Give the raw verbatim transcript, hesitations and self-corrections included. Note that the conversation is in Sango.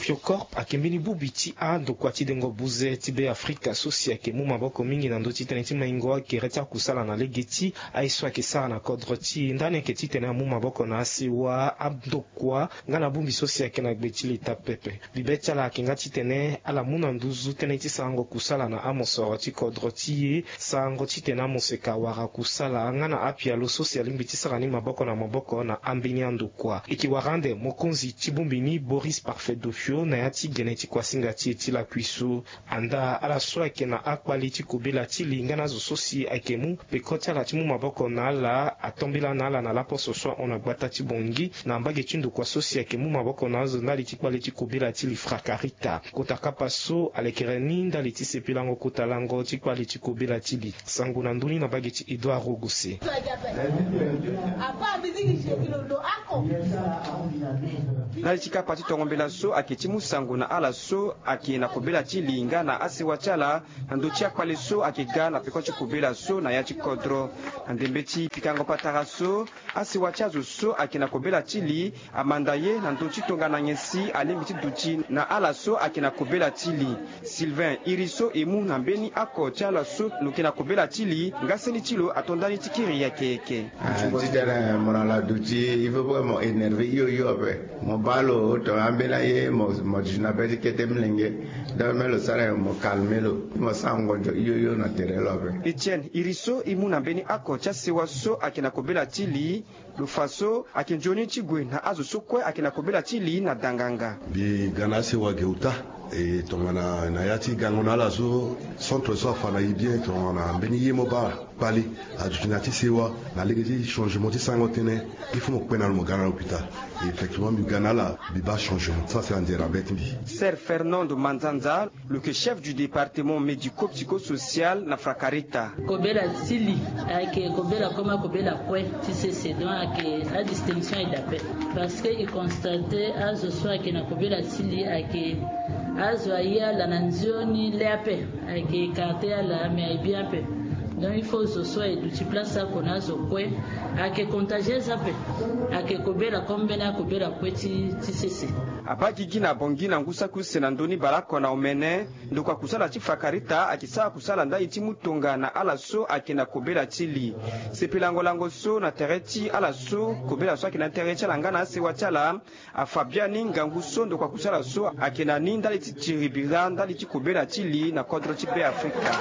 Tiocorp ayeke mbeni bongbi ti andokua ti dengo buze ti Be Afrika so si ayeke mu maboko mingi na ndö ti tënë ti maingo akere ti akusala na lege ti aye so ayeke sara na kodro ti e ndani ayeke titene amu maboko na asewa andokua nga na bongbi so si ayeke na gbe ti leta pepe. Bibe ti ala ayeke nga titene ala mu na nduzu tënë ti sarango kusala na amosoro ti kodro ti e, sarango titene amoseka wara kusala nga na apialo so si alingbi ti sara ni maboko na maboko na ambeni andokua. E yeke wara ande mokonzi ti bongbi ni Boris Parfait Dofio na ya ti gene ti kuasinga ti e ti lakui so. Andaa ala so ayeke na akpale ti kobela ti li nga na azo so si ayeke mu peko ti ala ti mu maboko na ala atombela na ala na laposo so ahon na gbata ti Bangui na mbage ti ndokua so si ayeke mu maboko na azo ndali ti kpale ti kobela ti li Frakarita. Kota kapa so alekere ni ndali ti sepelango kota lango ti kpale ti kobela ti li. Sango na ndö ni na mbage ti Edouard Rogose. Ndali ti kapa ti tongo mbela so ayeke ti mu sango na ala so ayeke na kobela ti li nga na asewa ti ala na ndö ti akpale so ayeke ga na peko ti kobela so na ya ti kodro. Na ndembe ti pikango patara so, asewa ti azo so ayeke na kobela ti li amanda ye na ndö ti tongana nyen si alingbi ti duti na ala so ayeke na kobela ti li. Sylvain iri so e mu na mbeni oko ti ala so lo yeke na kobela ti li nga seni ti lo ato ndani ti kiri yeke yeke. Ah, titene mo na la duti, il faut pas mo énerver hio hio ape. Mo baa lo tongana ambeni aye mo, mo duti na be ti kete molenge. Donc me lo sara nyen? Mo calmer lo, mo sara ngonzo hio hio na tere lo ape. Etienne iri so e mu na mbeni oko ti asewa so ayeke na kobela ti li. Lo fa so ayeke nzoni ti gue na azo so kue ayeke na kobela ti li na danganga. Mbi ga na asewa ge uta. E tongana na ya ti gango na ala so, centre so afa na e bien, tongana mbeni ye mo baa kpale aduti na ya ti sewa na lege ti changement ti sarango tënë, il faut mo kpe na lo mo ga na l'hôpital. Effectivement mbi ga na ala, mbi baa changement, ça c'est anzere na be ti mbi. Sœur Fernande Manzanza, lo yeke chef du département médico-psychosocial na Frakarita. Kobela ti li ayeke kobela comme akobela kue ti sese, donc ayeke adistinction aye daa ape. Parce que e constate azo so ayeke na kobela ti li ayeke azo aye ala na nzoni le ape, ayeke écarte ala mais aye bien ape. Donc il faut zo so aye duti place oko na azo kue. Ayeke contagieuse ape, ayeke kobela comme mbeni akobela kue ti, ti sese. Abaa gigi na Bangui na ngu saki use na ndö ni baleoko na omene. Ndokua kusala ti Frakarita ayeke sara kusala ndali ti mu tonga na ala so ayeke na kobela ti li. Sepelango lango so na tere ti ala so kobela so ayeke na tere ti ala nga na asewa ti ala afa biani ngangu so ndokua kusala so ayeke na ni ndali ti tiri bira ndali ti kobela ti li na kodro ti Be Afrika.